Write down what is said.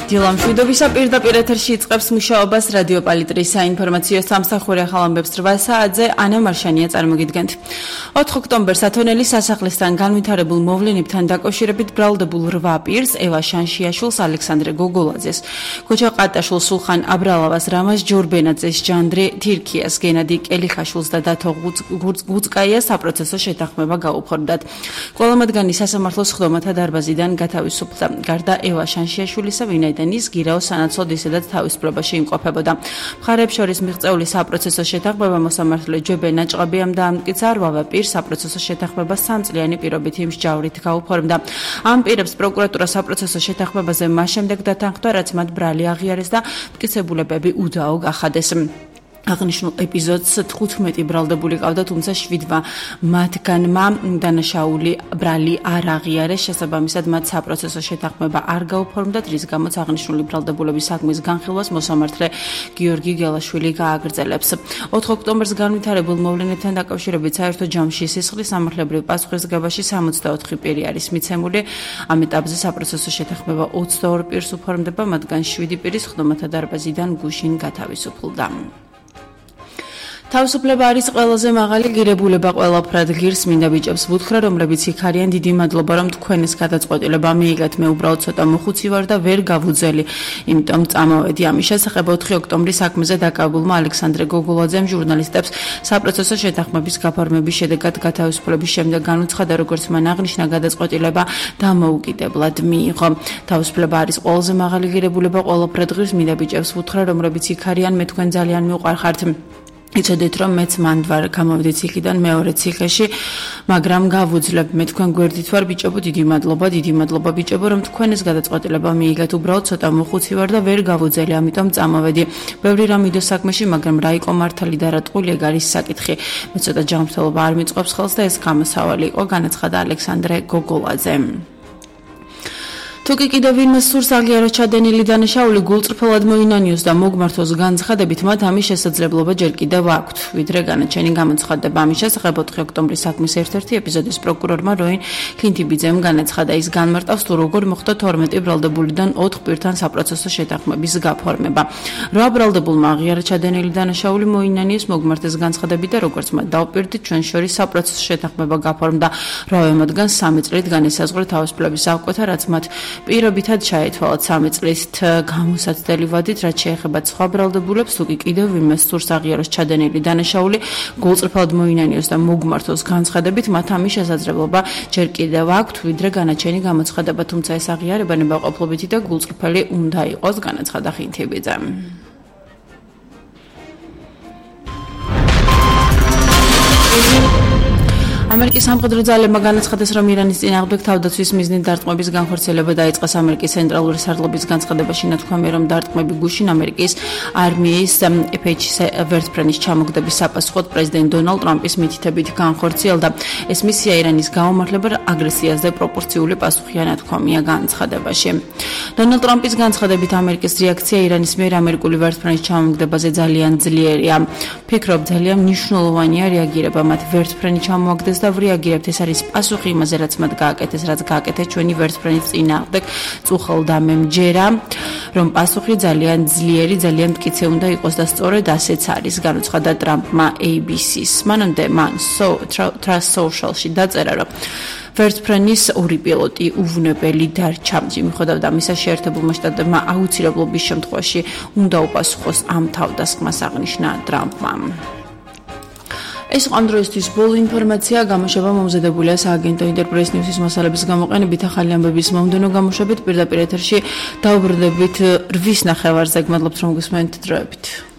დილამშვიდობისა პირდაპირ ეთერში იწყებს მუშაობას რადიო პალიტრის საინფორმაციო სამსახური ახალ ამბებს 8 საათზე ანა მარშანია წარმოგიდგენთ. 4 ოქტომბერს ათონელის სასახლისთან განვითარებულ მოვლენებთან დაკავშირებით ბრალდებულ 8 პირს ევა შანშიაშვილს, ალექსანდრე გოგოლაძეს, ქოჩა ყატაშვილს, სულხან აბრალავას, რამაზ ჯორბენაძეს, ჟანდრე თირქიას, გენადი კელიხაშვილს და დათო გუწკაიას საპროცესო შეთანხმება გაუფორდათ. ყველა მათგანი სასამართლოს სხდომათა დარბაზიდან გათავისუფლდა. გარდა ევა შანშიაშვილისა, ვინაიდან ის გირაოს სანაცვლოდ ისედაც თავისუფლებაში იმყოფებოდა. მხარეებს შორის მიღწეული საპროცესო შეთანხმება მოსამართლე ჯებენა ჭყაბიამ დაამტკიცა, 8 პირს საპროცესო შეთანხმება 3 წლიანი პირობითი მსჯავრით გაუფორმდა. ამ პირებს პროკურატურა საპროცესო შეთანხმებაზე მას შემდეგ დათანხმდა, რაც მათ ბრალი აღიარეს და მტკიცებულებები უდაო გახადეს. აღნიშნულ ეპიზოდს 15 ბრალდებული ყავდა, თუმცა 7 მათგანმა დანაშაული ბრალი არ აღიარეს, შესაბამისად მათ საპროცესო შეთანხმება არ გაუფორმდათ, რის გამოც აღნიშნული ბრალდებულების საქმის განხილვას მოსამართლე გიორგი გელაშვილი გააგრძელებს. 4 ოქტომბერს განვითარებულ მოვლენებთან დაკავშირებით საერთო ჯამში სისხლის სამართლებრივ პასუხისმგებაში 64 პირი არის მიცემული. ამ ეტაპზე საპროცესო შეთანხმება 22 პირს უფორმდება, მათგან 7 პირი სხდომათა დარბაზიდან გუშინ გათავისუფლდა. თავისუფლება არის ყველაზე მაღალი ღირებულება, ყველაფრად ღირს მინდა ბიჭებს ვუთხრა, რომლებიც იქ არიან, დიდი მადლობა, რომ თქვენს გადაწყვეტილება მიიღეთ, მე უბრალოდ ცოტა მოხუცი ვარ და ვერ გავუძელი, იმიტომ წამოვედი. ამის შესახებ 4 ოქტომბრის საქმეზე დაკავებულმა ალექსანდრე გოგოლაძემ ჟურნალისტებს საპროცესო შეთანხმების გაფორმების შედეგად გათავისუფლების შემდეგ განუცხადა, როგორც მან აღნიშნა, გადაწყვეტილება დამოუკიდებლად მიიღო. თავისუფლება არის ყველაზე მაღალი ღირებულება, ყველაფრად ღირს მინდა ბიჭებს ვუთხრა, რომლებიც იქ არიან, მე თქვენ ძალიან მიუყვარხართ. იცოდეთ, რომ მეც მანდ ვარ გამოვედი ციხიდან მეორე ციხეში, მაგრამ გავუძლებ, მე თქვენ გვერდით ვარ ბიჭებო, დიდი მადლობა ბიჭებო, რომ თქვენ ეს გადაწყვეტილება მიიღეთ, უბრალოდ ცოტა მოხუცი ვარ და ვერ გავუძელი, ამიტომ წამოვედი. ბევრი რამ მიდო საქმეში, მაგრამ რა იყო მართალი და რა ტყული, ეგ არის საკითხი. მე ცოტა ჯანმრთელობა არ მიწყობს ხელს და ეს გამოსავალი იყო, განაცხადა ალექსანდრე გოგოლაძე. თუკი კიდევ ვინმე სურს აღიაროს ჩადენილი დანაშაული გულწრფელად მოინანიოს და მოგმართოს განცხადებით, მათ ამის შესაძლებლობა ჯერ კიდევ აქვთ. ვიდრე განაჩენი გამოცხადდება ამის შესახებ 4 ოქტომბრის საქმის ერთ-ერთი ეპიზოდის პროკურორმა როინ ქლინთიბიძემ განაცხადა, ის განმარტავს თუ როგორ მოხდა 12 ბრალდებულიდან 4 პირთან საპროცესო შეთანხმების გაფორმება. 8 ბრალდებულმა აღიარა ჩადენილი დანაშაული მოინანიოს მოგმართეს განცხადებით და როგორც მათ დავპირდით, ჩვენ შორის საპროცესო შეთანხმება გაფორმდა. 8 მათგანს 3 წლით განესაზღვრა თავისუფლების აღკვეთა, რაც მათ პირობითად ჩაეთვალათ 3 წლით გამოსაცდელი ვადით, რაც შეეხება სხვა ბრალდებულებს, თუკი კიდევ ვინმე სურს აღიაროს ჩადენილი დანაშაული გულწრფელად მოინანიოს და მოგმართოს განცხადებით, მათ ამის შესაძლებლობა ჯერ კიდევ აქვთ, ვიდრე განაჩენი გამოცხადება, თუმცა ეს აღიარება ნებაყოფლობითი და გულწრფელი უნდა იყოს, განაცხადა ხინთიბიძე. ამერიკის სამხედრო ძალებმა განაცხადეს, რომ ირანის წინააღმდეგ თავდაცვის მიზნით დარტყმების განხორციელება დაიწყეს. ამერიკის ცენტრალური სარდლობის განცხადებაში ნათქვამია, რომ დარტყმები გუშინ ამერიკის არმიის F-16 ვერტმფრენის ჩამოგდების საპასუხოდ პრეზიდენტ დონალდ ტრამპის მითითებით განხორციელდა. ეს მისია ირანის გაუმართლებელ აგრესიაზე პროპორციული პასუხია, ნათქვამია განცხადებაში. დონალდ ტრამპის განცხადებით, ამერიკის რეაქცია ირანის მიერ ამერიკული ვერტმფრენის ჩამოგდებაზე ძალიან ძლიერია. ფიქრობ, ძალიან მნიშვნელოვანია რეაგირება მათ ვერტმფრენი ჩამოაგდეს და ვრეაგირებთ, ეს არის პასუხი იმაზე, რაც მათ გააკეთეს, რაც გააკეთეს ჩვენი ვერტმფრენის წინააღმდეგ. წუხელდა მე მჯერა, რომ პასუხი ძალიან ძლიერი, ძალიან მტკიცე უნდა იყოს და სწორედ ასეც არის, განუცხადა ტრამპმა ABC-ს. მანამდე მან Truth Social-ში დაწერა, რომ ვერტმფრენის 2 პილოტი უვნებელი დარჩა. მიუხედავად ამისა, შეერთებულმა შტატებმა აუცილებლობის შემთხვევაში უნდა უპასუხოს ამ თავდასხმას, აღნიშნა ტრამპმა. ეს იყო ამ დროისთვის ბოლო ინფორმაცია, გამოშვება მომზადებულია სააგენტო ინტერპრეს ნიუსის მასალების გამოყენებით, ახალი ამბების მომდევნო გამოშვებით, პირდაპირ ეთერში დავბრუნდებით 8:30-ზე. გმადლობთ, რომ გისმენთ დროებით.